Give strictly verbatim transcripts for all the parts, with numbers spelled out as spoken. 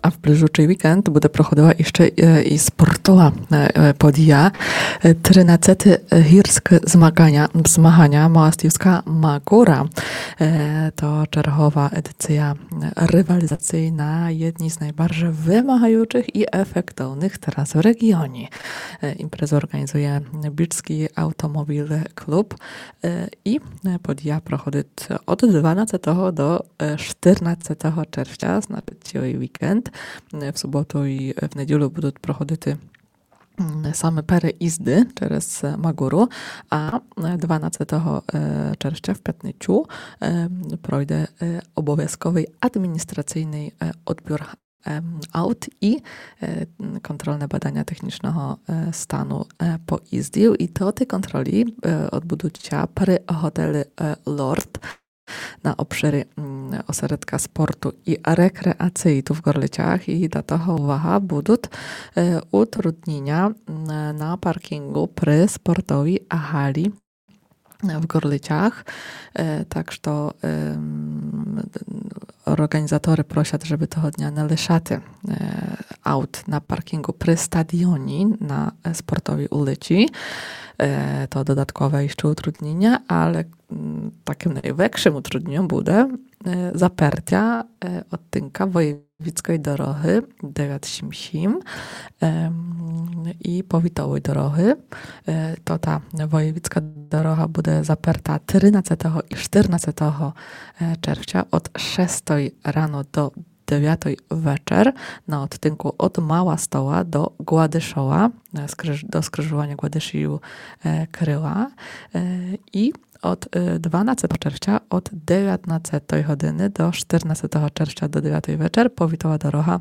А в ближучый вікенд буде проходила іщы, е, і спортова, е, е, подія. Е, тринадцеты гірскы змаганя, змаганя Маластівска Магура. Е, то чергова едиція, е, рівалізації на єдній з найбаржей вымагаючых і ефектовных трас в реґіоні. Е, імпрезу орґанізує Бічскій автомобілный клуб. Е, і, е, подія проходить од дванадцятого до, е, штирнадцятого червця, значыт, цілый вікенд. Е, в суботу і в неділю будуть проходити, м, саме переїзды через, е, Магуру, а, е, дванадцятого, е, червця в пятницю, е, пройде, е, обовязковый адміністраційный, е, одбір, ем, аут і, е, контрольне баданя технічного, е, стану, е, поїздів. І тоты контролі, е, одбудуть ся при готелі, е, Лорд на обширі, м, осередка спорту і рекреації ту в Горлицях. І до того, увага, будуть, е, утрудніня, м, на паркінгу при спортовій галі в Горлицях. Е, так што, ем, орґанізаторы просять, жебы того дня не лишати, е, аут на паркінгу при стадіоні на, е, Спортовій улици. Е, то додаткове іщы утрудніня, але, м, такым найвекшым утрудніньом буде, е, запертя, е, одтинка Воєвідськой дорогы девят сім сім, ем, і Повітовой дорогы. Е, то та Воєвідська дорога буде заперта тринадцятого і штирнадцятого, е, червця од шестой рано до девятой вечер на одтинку од Мала Стола до Гладышова, е, скриж-, до скрижованя Гладышів, е, Крыла. Е, і од, е, дванадцятого червця од девятнадцятой годины до штирнадцятого червця до девятой вечер Повітова дорога,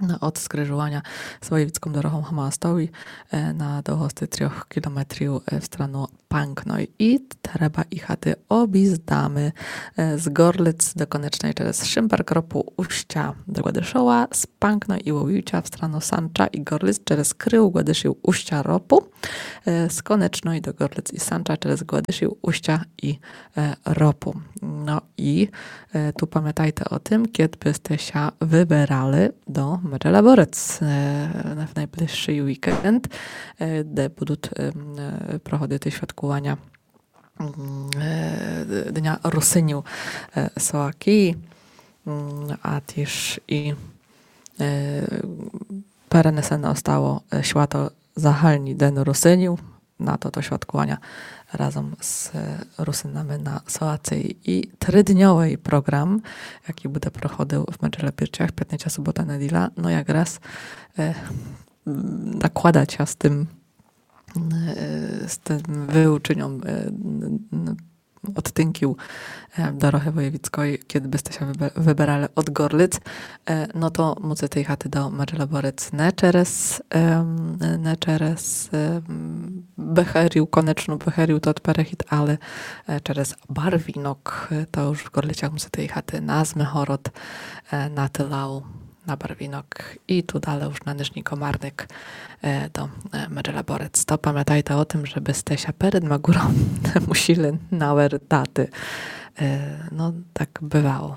е, од скрижованя з Воєвідськом дорогом в Мала Столі, е, на довгости трьох кілометрів, е, в страну Панкной. І треба їхати обїздами, е, з Горлиць до Конечной через Шымберк, Ропу, Устя до Гладышова, з Панкной і Вовівця в страну Санча і Горлиць через Крыв, Гладышів, Устя, Ропу, е, з Конечной до Горлиць і Санча через Гладышів, Устя і, е, Ропу. Но і, е, ту памятайте о тым, кед бы сте ся выберали до Меджелеборец, е, в найближшый вікенд, е, де будуть, е, м, е, проходити святкуваня, м, е, Дня Русинів, е, Словакії, м, а тіж і, е, перенесене остало, е, свято загальні День Русинів на тото святкуваня разом з, е, Русинами на Словації. І тридньовый програм, якій буде проходив в Меджелебірцях, пятниця, субота, неділя, но якраз, е, м, накладать ся з тым, е, з тым выученьом, е, н-, н-, одтинків, е, дорогы Воєвідськой, кед бы сте ся выбе-, выберали од Горлиць, е, но то мусите їхати до Меджелеборец не через, ем, не через, ем, Бехерів, Конечну, Бехерів, тот перехід, але, е, через Барвінок, е, то уж в Горлицях мусите їхати на Змигород, е, на Тылау, на Барвінок і ту дале уж на Нижній Комарник, е, до, е, Меджелеборец. То памятайте о тым, жебы сте ся перед Магуром не мусили навертати. Е, но, так бывало.